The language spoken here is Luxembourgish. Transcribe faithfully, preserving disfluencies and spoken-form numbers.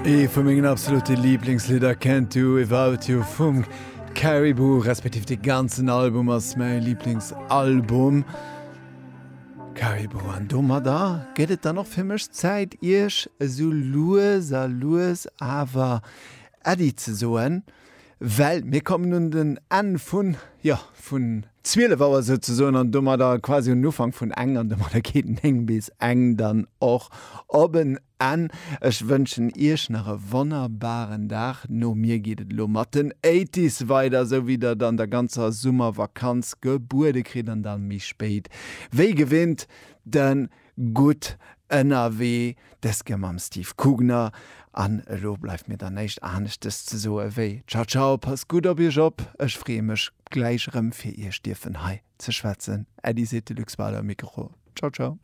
Ee vu mengen absolute Lieblingslidder Can't Do Without You vum Caribou, respektiv de ganzen Album ass mäi Lieblingsalbum. Caribou an domadder gëtt et dann och fir mech Zäit iech esou lues a lues awer Äddi ze soen, well mir kommen un den Enn vun, jo, vun zwielef Auer souzesoen an domadder quasi un den Ufank vun eng an domadder geet néng bis eng dann och op en Enn. Ech wënschen iech nach e wonnerbaren Dag. No mir geet et elo mat den Eighties weider, esou wéi der et an der ganzer Summervakanz gebuede kritt an dann méi spéit wéi gewinnt de Gutt ënnerwee, dës Kéier mam Steve Kugner. An elo bleift mir dann näischt aneschtes ze soe wéi Ciao ciao, passt gutt op iech op. Ech freeë mech gläich erëm fir iech dierfen hei ze schwätzen. Äddi seet de Luc Spader um Mikro. Ciao ciao.